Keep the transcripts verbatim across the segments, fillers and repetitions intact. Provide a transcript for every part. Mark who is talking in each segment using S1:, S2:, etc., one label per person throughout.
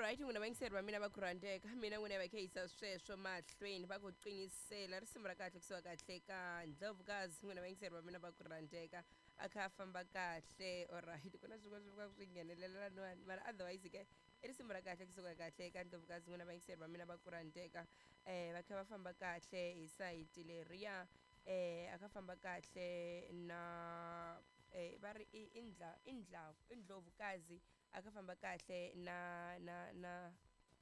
S1: Alright, n'wina vayingiseri va mina va ku rhandzeka, mina n'wina va khe yisa sweswo mahlweni, va ku qinisela risimu ra kahle kusuka kahle ka Ndlovukazi. N'wina vayingiseri va mina va ku rhandzeka, a kha a famba kahle. Alright, ku na swin'wana swi fika swi nghenelela laniwani, mara otherwise ke i risimu ra kahle kusuka kahle ka Ndlovukazi. N'wina vayingiseri va mina va ku rhandzeka, um va kha va famba kahle hi sayiti leriya, um a kha famba kahle na eh va ri i indla indla Indlovukazi, a kha famba kahle na na na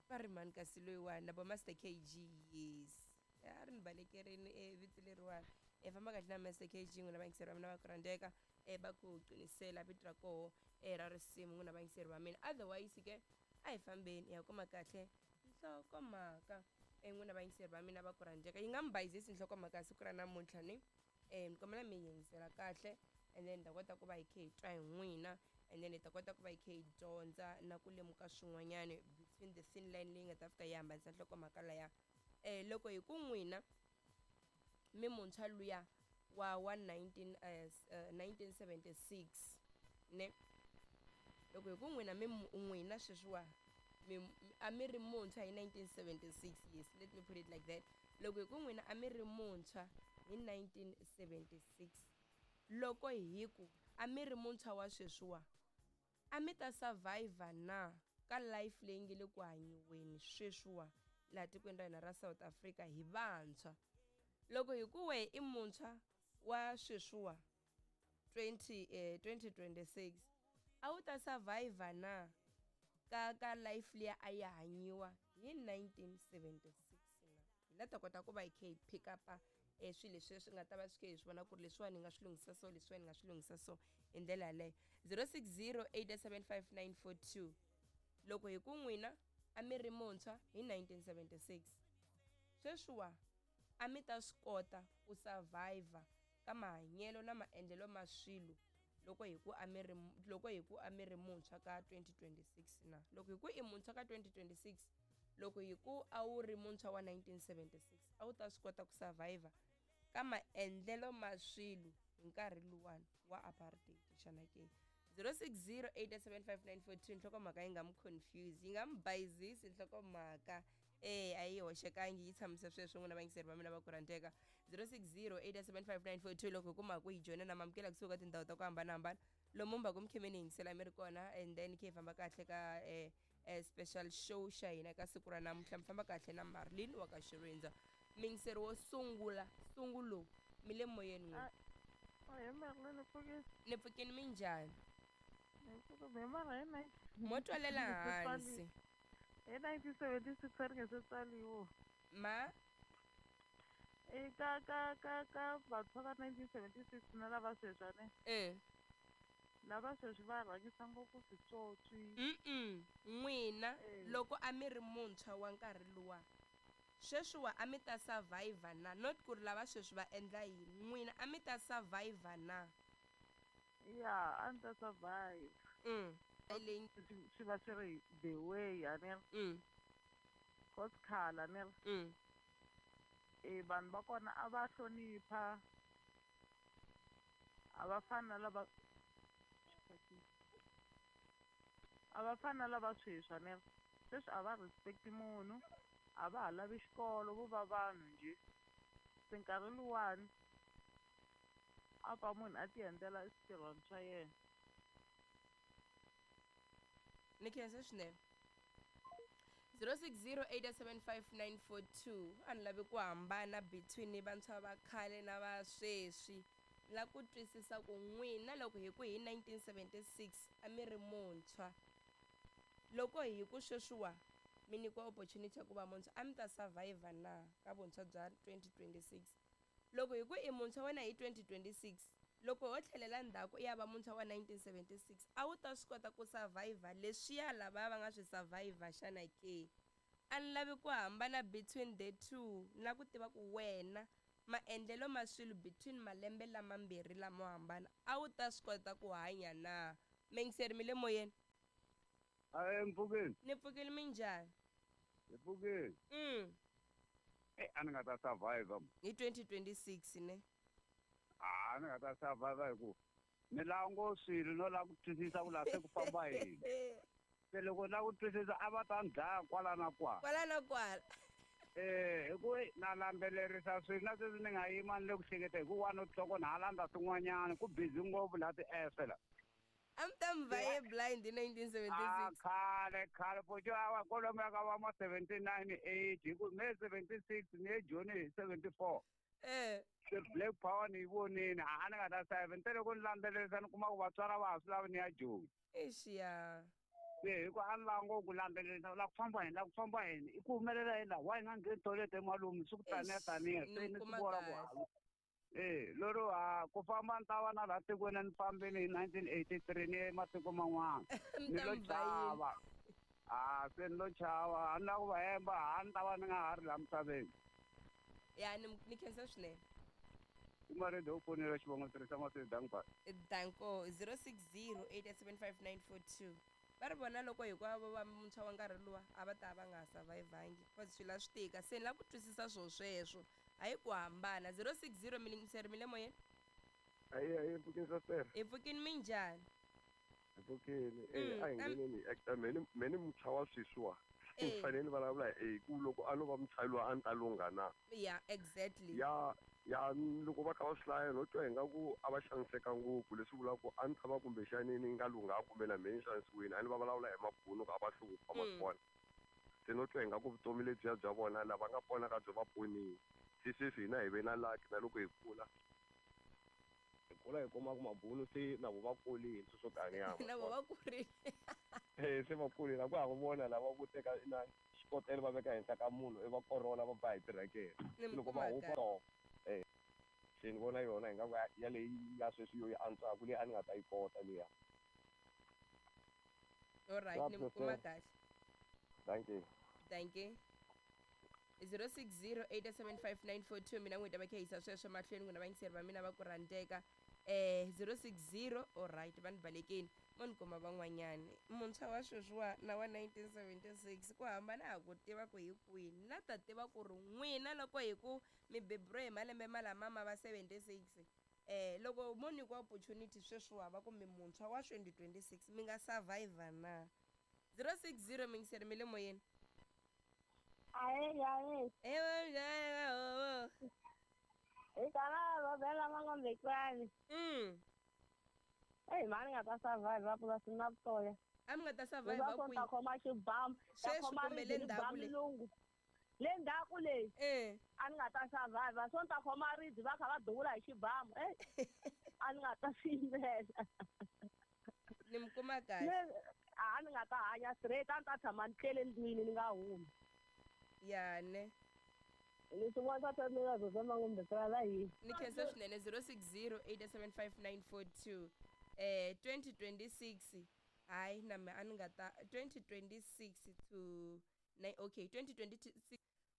S1: va ri mani kasi loyiwani na bo Master K G. Yes, a ri ni balekerini e vito leriwani, e famba kahle na Master K G. N'wina vayingiseri va mina va ku rhandzeka, e va ku qinisela vito ra koho e ra risimu, n'wina vayingiseri va mina. Otherwise ke a hi fambeni hi ya kuma kahle nhlokomhaka. E n'wina vayingiseri va mina va ku rhandzeka, yi nga mi bayizisi nhlokomhaka ya siku ra namuntlha ni um ni kombela mi yingisela kahle, and then hi ta kota ku va hi kha hi twa hi n'wina, and then hi ta kota ku va hi kha hi dyondza na ku lemuka swin'wanyani between the thin line leyi nga ta fika yi hambanisa nhlokomhaka laya. um loko hi ku n'wina mi muntshwa luya wa wa nineteen uh, uh, nineteen seventy-six ne, loko hi ku n'wina mi n'wina sweswiwa mi a mi ri muntshwa hi nineteen seventy-six, yes, let me put it like that. Loko hi ku n'wina a mi ri muntshwa hi nineteen seventy-six, loko hi ku a mi ri muntshwa wa sweswiwa, a mi ta survivor na ka life leyi nge le ku hanyiweni sweswiwa laha tikweni ra hina ra South Africa hi vantshwa? Loko hi ku wehe i muntshwa wa sweswiwa twenty eh, twenty twenty-six, a wu ta survivor na ka ka life liya a yi hanyiwa hi nineteen seventy-six na? Hi la ta kota ku va hi kha hi pick up e swilo leswi swi nga ta va swi kha hi swi vona ku ri leswiwani hi nga swi lunghisa so, leswiwani hi nga swi lunghisa so, hi ndlela yaleyo. zero six zero eight seven five nine four two. Loko hi ku n'wina a mi ri muntshwa hi nineteen seventy-six, sweswiwa a mi ta swi kota ku survivor ka mahanyelo na maendlelo ma swilo loko hi ku a mi ri loko hi ku a mi ri muntshwa ka twenty twenty-six na? Loko hi ku i muntshwa ka twenty twenty-six, loko hi ku a wu ri muntshwa wa nineteen seventy-six, a wu ta swi kota ku survivor ka maendlelo ma swilo hi nkarhi luwani wa apartheid xana ke? zero six zero eight seven five nine four two. Nhlokomhaka yi nga mi confuse, yi nga mi bayizisi nhlokomhaka, eh a yi hoxekangi, yi tshamise sweswo. N'wina vayingiseri va mina va ku rhandzeka, zero six zero eight seven five nine four two. Loko hi kuma ku hi joyina na mamukela kusuka ka tindhawu ta ku hambanahambana lomu mi va ku mi khe mi ni yingisela mi ri kona, and then khe hi famba kahle ka eh, eh, special show xa hina ka siku ra namuntlha. Mi famba kahle na Marlin wa ka Xirindza. Miyingiseri wo sungula sungulo, mi le moyeni n'wina.
S2: Ahee Marlene, pfukile?
S1: Ni pfukini, minjhani?
S2: Ni pfuka mara hi nineteen
S1: Mo twalela hansi.
S2: Hi nineteen seventy six a ri nge se tswaliwa.
S1: Ma
S2: E ka ka ka ka vantshwa va nineteen seventy six na lava sweswi a ne
S1: eh
S2: lava sweswi va rhangisa ngopfu switswotswi.
S1: Mm n'wina
S2: Eh.
S1: loko a mi ri muntshwa wa nkarhi luwa, sweswiwa a mi ta survivor na? Not ku ri lava sweswi va endla yini, n'wina a mi ta survivor na?
S2: Ya, a ni ta survive.
S1: mm leyi
S2: swi swi va swi ri the way a ni ri
S1: mm
S2: cause khale a ni ri
S1: mm
S2: e vanhu va kona a va hlonipha, a va fani na lava a va fani na lava sweswi. A ni ri sweswi a va respect munhu, a va ha lavi xikolo, vo va vanhu njhe. Se nkarhi luwani a pfa munhu a ti endlela switirhwani swa yena.
S1: Ni khensa swinene. zero six zero eight seven five nine four two. A ni lavi ku hambana between vantshwa va khale na va sweswi, ni lava ku twisisa ku n'wina loko hi ku hi nineteen seventy-six a mi ri muntshwa, loko hi ku sweswiwa mi nyikiwa opportunity ya ku va muntshwa, a mi ta survivor na ka vuntshwa bya twenty twenty-six? Loko hi ku i muntshwa wena hi twenty twenty-six, loko ho tlhelela ndzhaku i ya va muntshwa wa nineteen seventy-six, a wu ta swi kota ku survivor leswiya lavaya va nga swi survivor xana ke? A ni lavi ku hambana between the two, ni lava ku tiva ku wena maendlelo ma swilo between malembe lamambirhi lamo hambana, a wu ta swi kota ku hanya na? Mingiseri, mi le moyeni.
S3: Ahee, mpfukeni.
S1: Ni pfukile, minjhani?
S3: Hi pfukile.
S1: mm
S3: Eh, a ni nga ta survive.
S1: Hi twenty twenty-six ne?
S3: A ni nga ta survive hi ku ni lava ngo swilo no lava ku twisisa ku laha se ku famba yini. Se loko na ku twisisa a va ta ni dlaya kwala na kwala.
S1: Kwala na kwala.
S3: Eh, hi ku na landzelerisa swilo na sweswi ni nga yima ni le ku hleketa hi ku one o'clock na ha landza swin'wanyana ku busy ngopfu laha ti-app la.
S1: A mi ta mi vaye blind hi nineteen seventy
S3: Ah,
S1: six.
S3: khale khale poco awa kwalomuya ka va ma seventy nine eight hi ku me seventy six ni ye Joni hi seventy four.
S1: Eh.
S3: Se Black Power ni yi vonini a ni nga ta seven te loko ni landzelerisa ni kuma ku vatswari va ha swi lavi ni ya Joni.
S1: Eish ya.
S3: Se hi ku a ni lava ngopfu ku landzelerisa u lava ku famba yini lava ku famba yini i ku humelela yini laha wa hi nga ngheni toilet emalume swi ku taniya
S1: Eish,
S3: taniya
S1: ni
S3: se ni
S1: kuma
S3: swi vona ku
S1: kahle.
S3: eh lero ha ku famba ni ta va na laha tikweni ni fambini hi nineteen eighty three ni ye matiko man'wana
S1: Mi
S3: ni
S1: ta
S3: lo
S1: mi vhayini.
S3: chava a se ni lo chava a ni lava ku va hemba a ni ta va ni nga ha ri laha misaveni.
S1: Ya ni ni khensa swinene.
S3: Ku nga ri u fonela xivongo tirhisa masiku danko.
S1: Danko zero six zero eight seven five nine four two. Va ri vona loko hinkwavo va muntshwa wa nkarhi luwa a va ta va nga ha survive-angi cause swilo a swi tika se ni lava ku twisisa swo sweswo hayi ku hambana zero six zero milingiseri mi le moyeni.
S4: Ayi ayi mpfukeni sastere.
S1: Hi pfukini minjhani?
S4: Hi pfukeni.
S1: Mm,
S4: Eh a hi
S1: am-
S4: ngheneni hi actor me ni me ni muntshwa wa sweswiwa.
S1: Eh.
S4: Ni fanele ni vulavula hi ku loko a no va muntshwa loyi a ni ta lungha na.
S1: Yeah, exactly.
S4: Ya ya loko va kha va swi hlaya no twa ingaku a va xaniseka ngopfu leswi vulaka ku a ni ta va kumbexani ni nga lunghanga kumbe na mehe ni xanisiwile a ni va vulavula hi mabunu ku a va hlupha ma
S1: Mm.
S4: swi vona. Se no twa ingaku vutomi lebyiya bya vona lava nga pona ka byo va ponile. Se sweswi hina hi ve na luck na loko hi kula hi kula hi kuma ku mabunu se na vo va kurile sweswo taniya ma
S1: Na
S4: swi
S1: vo
S4: vona.
S1: va kurile.
S4: Eh se va kurile a ku ha ku vona lava vo teka na xikotela va veka henhla ka munhu i va korola va ba hi tirekere.
S1: Ni mi
S4: Loko va
S1: kuma
S4: hupa
S1: kahle.
S4: to eh se ni vona yona ingaku ya leyi ya sweswi yo yi antswaka leyi a ni nga ta yi kota liya.
S1: Alright,
S4: Ya
S1: ni mi kuma
S4: prefer.
S1: kahle.
S4: Thank you.
S1: Thank you. zero six zero eight seven five nine four two mina n'wina va kha yisa sweswo mahlweni n'wina vayingiseri va mina va ku rhandzeka eh zero six zero alright va ni balekeni mo ni kuma van'wanyani muntshwa wa sweswiwa na wa nineteen seventy six ku hambana ha ku tiva ku hi kwihi na ta tiva ku ri n'wina loko hi ku mi beburiwe hi malembe malama ma va seventy six eh loko mo nyikiwa opportunity sweswiwa va ku mi muntshwa wa twenty twenty six mi nga survivor na zero six zero mingiseri mi le moyeni.
S5: Ahe, ahe.
S1: Ewe,
S5: Hi kana va bela mangombekwane.
S1: Mm.
S5: Ei, mani nga ta survive purasini na vutoya.
S1: A mi nga ta survive
S5: Leswaku ni
S1: kwihi?
S5: ta khoma xibamu, ta
S1: Sweswi
S5: khoma
S1: kumbe le
S5: ribye ni ba
S1: ndzhaku le?
S5: mulungu. Le ndzhaku le
S1: Eh.
S5: a ni nga ta survive, so ni ta khoma ribye va kha va duvula hi xibamu. Ei, a ni nga ta swi yimela.
S1: Ni mi kuma kahle.
S5: Ne- a ni nga ta hanya straight, a ni ta tshama ni tlele ndlwini ni nga humi.
S1: Ya ne.
S5: Leswi n'wana swa mina zozo mangombekwana la yini.
S1: Ni khensa swinene zero six zero eight seven five nine four two. Eh twenty twenty six hayi na me a ni nga ta twenty twenty six to nine okay twenty twenty six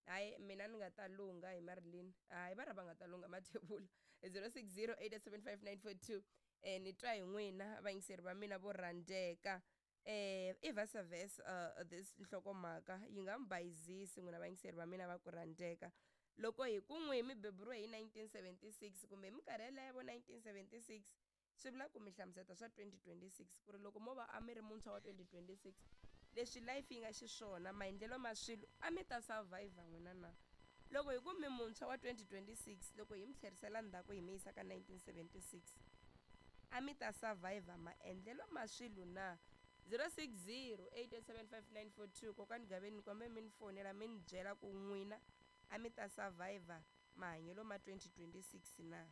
S1: hayi mina ni nga ta lungha hi Marilyn hayi va ri va nga ta lungha mathebula zero six zero eight seven five nine four two eh ni twa hi n'wina vayingiseri va mina vo rhandzeka eh i versa versa uh, this nhlokomhaka yi nga mi bayizisi n'wina vayingiseri va mina va ku rhandzeka loko hi ku n'wi mi beburiwe hi nineteen seventy six kumbe hi minkarhi yeleyo vo nineteen seventy six swi vula ku mi hlamuseta swa twenty twenty six ku ri loko mo va a mi ri muntshwa wa twenty twenty six leswi life yi nga xiswona maendlelo ma swilo a mi ta survivor n'wina na loko hi ku mi muntshwa wa twenty twenty six loko hi mi tlherisela ndzhaku hi mi yisa ka nineteen seventy six a mi ta survivor maendlelo ma swilo na zero six zero eight seven five nine four two kokwani Gaveni kombe mi ni fonela mi ni byela ku n'wina a mi ta survivor mahanyelo ma twenty twenty six na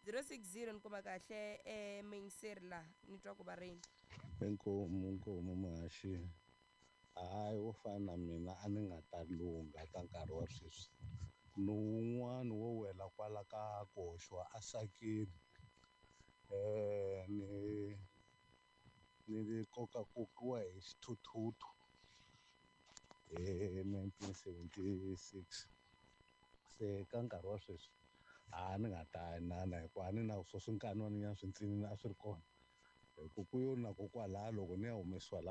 S1: zero six zero ni kuma kahle eh muyingiseri laha ni twa ku va rini.
S6: Inkomu inkomu muhaxi hayi wo fana na mina a ni nga ta lungha ka nkarhi wa sweswi ni wun'wani wo wela kwala ka ku hoxiwa esakeni eh ni ni kokakokiwa hi xithuthuthu hi nineteen seventy six se ka nkarhi wa sweswi a ni nga ta inana hikuva a ni na swo swinkan'wanyana swintsinini a swi ri kona hi ku ku yo na ko kwalaya loko ni ya humesiwa la.